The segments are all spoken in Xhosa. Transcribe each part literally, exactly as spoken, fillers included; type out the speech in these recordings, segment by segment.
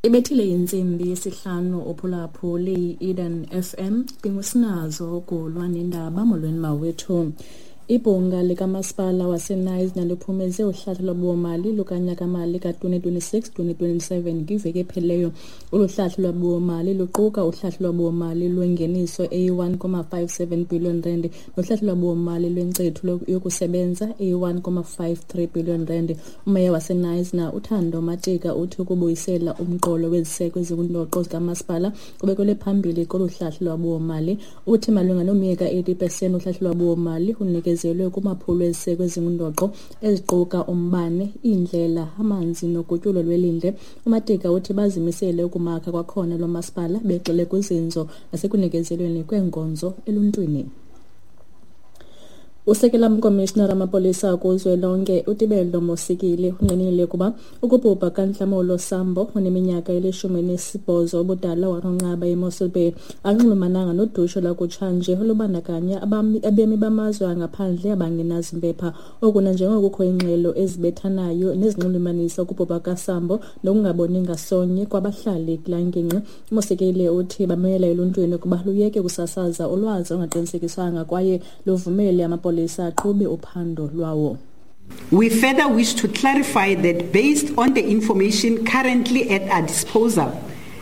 Ibethile intsimbi yesihlanu uphulaphuli i-Eden F M ndingusinazo kulwa nendaba. Molweni mawethu. Ibhunga likamasipala waseKnysna liphumeze uhlahlo lwabiwomali lukanyaka-mali ka-twenty twenty-six twenty twenty-seven kwiveki ephelileyo. Olu hlahlo lwabiwomali luquka uhlahlo lwabiwomali lwengeniso eyi-one comma five seven billion rand nohlahlo lwabiwomali lwenkcitho yokusebenza eyi-one comma five three billion rand. Umeya waseKnysna uThando Matika uthi ukubuyisela umqolo weziseko ezingundoqo zikamasipala kubekelwe phambili kolu hlahlo lwabiwomali. Uthi malunga nomyeka eighty percent uhlahlo lwabiwomali unikezwe kumaphulo eziseko ezingundoqo eziquka umbane, iindlela, amanzi nogutyulo lwelindle. UMatika uthi bazimisele ukumakha kwakhona lo masipala begxile kuzinzo nasekunikezelweni kweenkonzo eluntwini. Usekela mkomishinara wamapolisa kuzwelonke uTebello Mosikili unqinile ukuba ukubhubha kaNhlamulo Sambo oneminyaka elishumi nesibhozo ubudala waronqaba eMossel Bay anxulumananga nodushe lwakutshanje olubandakanya abemi bamazwe angaphandle abangenazimpepha. Oku nanjengoko kukho iingxelo ezibethanayo nezinxulumanisa ukubhubha kaSambo nokungaboni ngasonye kwabahlali kulaa ngingqi. UMosikili uthi bamela eluntwini ukuba luyeke ukusasaza ulwazi olungaqinisekiswanga kwaye luvumele amapolisa aqhube uphando lwawo. We further wish to clarify that based on the information currently at our disposal,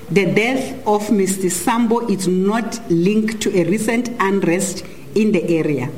the death of Mister Sambo is not linked to a recent unrest in the area.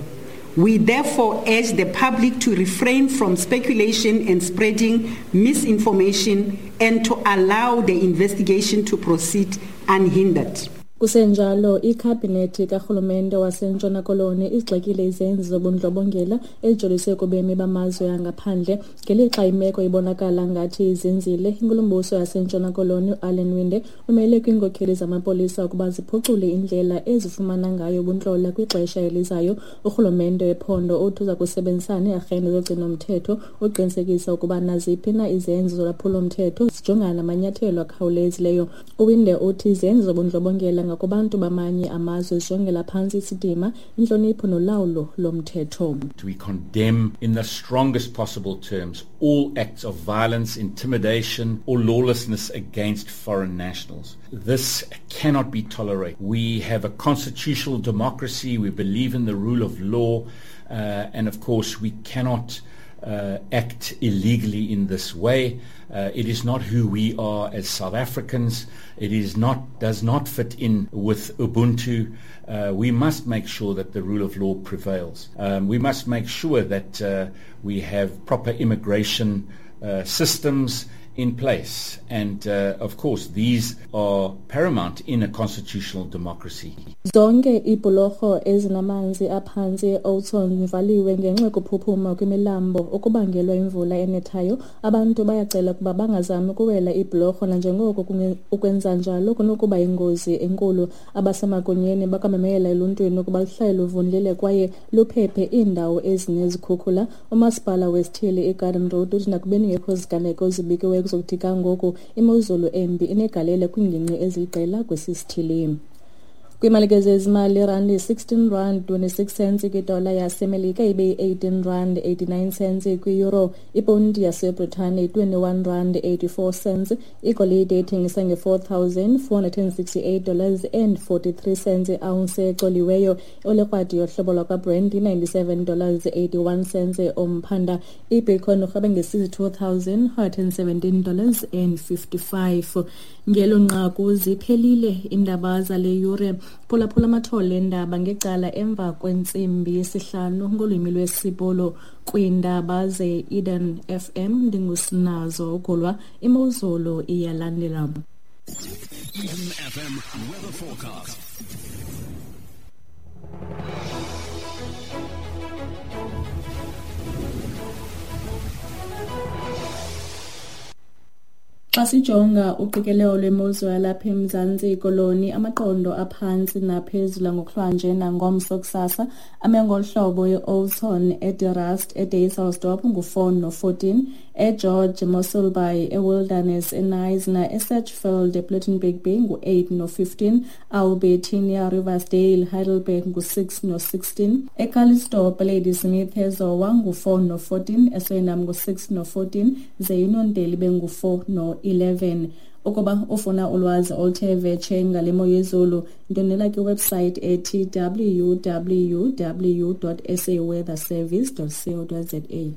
We therefore urge the public to refrain from speculation and spreading misinformation and to allow the investigation to proceed unhindered. Kusenjalo, ikhabhinethi karhulumente waseNtshona Koloni igxekile izenzo zobundlobongela ezijoliswe kubemi bamazwe angaphandle. Ngelixa imeko ibonakala ngathi izinzile, inkulumbuso yaseNtshona Koloni uAllan Winde umele kwiinkokheli zamapolisa ukuba ziphucule indlela ezifumana ngayo ubuntlola kwixesha elizayo. Urhulumente wephondo uthi uza kusebenzisana neearhente zogcino-mthetho uqinisekisa ukuba naziphi na izenzo zolwaphulo-mthetho zijongana namanyathelo akhawulezileyo. UWinde uthi izenzo zobundlobongela ngakubantu bamanye amazwe zijongela phantsi isidima, intlonipho nolawulo lomthetho. We condemn in the strongest possible terms all acts of violence, intimidation or lawlessness against foreign nationals. This cannot be tolerated. We have a constitutional democracy. We believe in the rule of law. Uh, and of course, we cannot Uh, act illegally in this way. Uh, it is not who we are as South Africans. It is not, does not fit in with Ubuntu. Uh, we must make sure that the rule of law prevails. Um, we must make sure that uh, we have proper immigration uh, systems in place. And uh, of course, these are paramount in a constitutional democracy. Zonke iibhulorho ezinamanzi aphantsi e-Oudtshoorn zivaliwe ngenxa yokuphuphuma kwimilambo okubangelwa imvula enethayo. Abantu bayacela ukuba bangazami ukuwela iibhulorho nanjengoko ukwenza njalo kunokuba yingozi enkulu. Abasemagunyeni bakwamemela eluntwini ukuba luhlale luvundlile kwaye luphephe iindawo ezinezikhukhula. Umasipala wesithili iGarden Road uthi nakubeni ngekho ziganeko zibikiweyo kuzokuthi kangoku imozulu embi inegalelo kwiingingqi eziliqela kwesi sithili. Kwiimali zezimali, irandi sixteen rand twenty-six cents kwidola yaseMelika ibe yi-eighteen rand eighty-nine cents kwi-euro. Iponti yaseBritane twenty-one rand eighty-four cents. Igolide ithengisa nge-four thousand four hundred and sixty-eight dollars and forty-three cents i-ounce ecoliweyo. Olekrwadi yohlobo lwakwaBrent ninety-seven dollars eighty-one cents umphanda. Ibitcoin urhwebe nge-sixty-two thousand one hundred and seventeen dollars and fifty-five. Ngelo nqaku ziphelile iindaba zale yure. Phulaphula amathole endaba ngecala emva kwentsimbi yesihlanu ngolwimi lwesiPolo kwiindaba ze-Eden F M. Ndingusinazo uGulwa. Imozulu iyalandela. Eden F M weather forecast. Xa sijonga uqikelelo lwemozulu yalapha eMzantsi Koloni, amaqondo aphantsi naphezulu ngokuhlwanje nangomso kusasa ame ngolu hlobo: e-Oudtshoorn, eDe Rust, eDysselsdorp ngu-four no-fourteen, eGeorge, Mossel Bay, eWilderness, eKnysna, eSedgefield, ePlettenberg Bay ngu-eight no-fifteen, Albertinia, Riversdale, Heidelberg ngu-six no-sixteen, eCalitzdorp, Ladysmith, eZowa ngu-four no-fourteen, eSuriname ngu-six no-fourteen, ze Uniondale bengu-four no-eleven. Ukuba ufuna ulwazi oluthe vetshe ngale mo yezulu, ndwendwela kwiwebsite ethi w w w dot s a weather service dot co dot z a.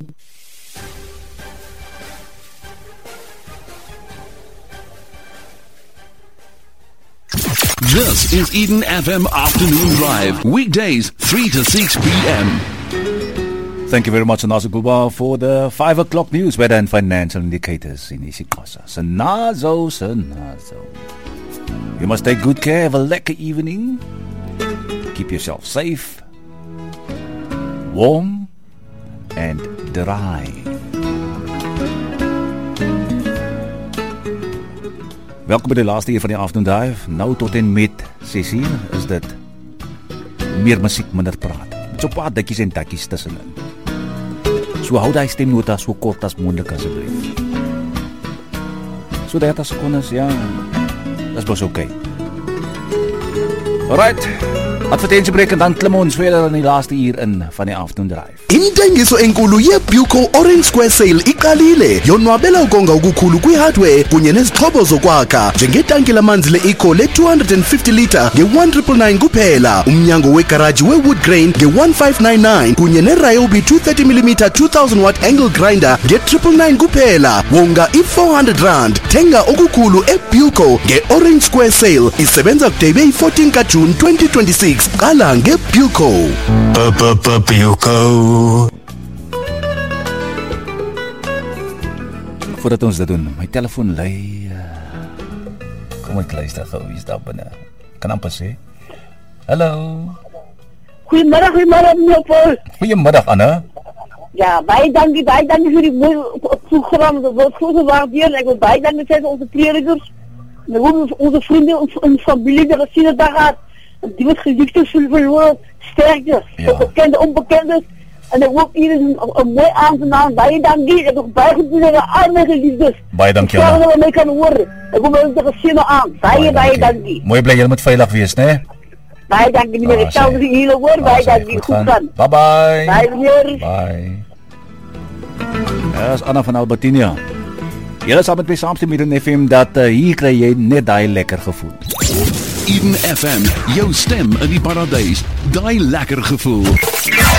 This is Eden F M Afternoon Drive, weekdays three to six p m Thank you very much, Sanazo Guba, for the five o'clock news, weather and financial indicators in isiXhosa. Sanazo, Sanazo. You must take good care. Have a lekker evening. Keep yourself safe, warm, and dry. Welkom by die laaste uur van die Afternoon Drive. Nou tot en met ses uur is dit meer musiek, minder praat. Met so 'n paar dikkies en takkies tussenin. So hou daai stemnota so kort as moontlik asseblief. So dertig sekondes, ja. Dis mos oké. Alright. Advertensiebreek en dan klim ons verder in die laaste uur in van die Afternoon Drive. Intengiso enkulu yeBuco Orange Square Sale iqalile. Yonwabela ukonga okukhulu kwi-hardware kunye nezixhobo zokwakha njengetanki lamanzi le-Eco le-two hundred fifty litre nge-one triple nine kuphela, umnyango wegaraji we-wood grain nge-one five nine nine kunye ne-Ryobi two thirty millimeter two thousand watt angle grinder nge-triple nine kuphela. Wonga i-four hundred rand. Thenga okukhulu eBuco nge-Orange Square Sale. Isebenza kude ibe yi-fourteen kaJune twenty twenty-six. Qala ngeBuco. Buco. Voordat ons dit doen, my telefoon lui. Kom ek luister gou, wie is daar binne? Kan amper sê. Hallo. Goeiemiddag, goeiemiddag meneer Paul. Goeiemiddag Anne. Ja, baie dankie, baie dankie vir die mooi program. Dat word goed gewaardeer. Ek wil baie dankie sê vir onze predikers. En ook onze vrienden en familie die gesien het daar gehad. Die wat geliefdes verloren, sterkte, ja. Bekende, onbekende. En ek hoop iedereen een, een mooi avond. Baie dankie. Ek heb baie goed doen aan al my geliefdes. Baie dankie. Ik dat my kan horen. Ek hoop dat ek gesien aan. Baie, baie dankie. Mooi bly, julle moet veilig wees, né? Baie dankie meneer. Ek sal vir julle hoor. Baie dankie. Goed gaan. Bye bye. Bye meneer. Bye. Ja, is Anna van Albertinia. Julle saam met my saamstem hier in F M dat uh, hier kry jy net daai lekker gevoel. Eden F M, jou stem in die paradys, daai lekker gevoel.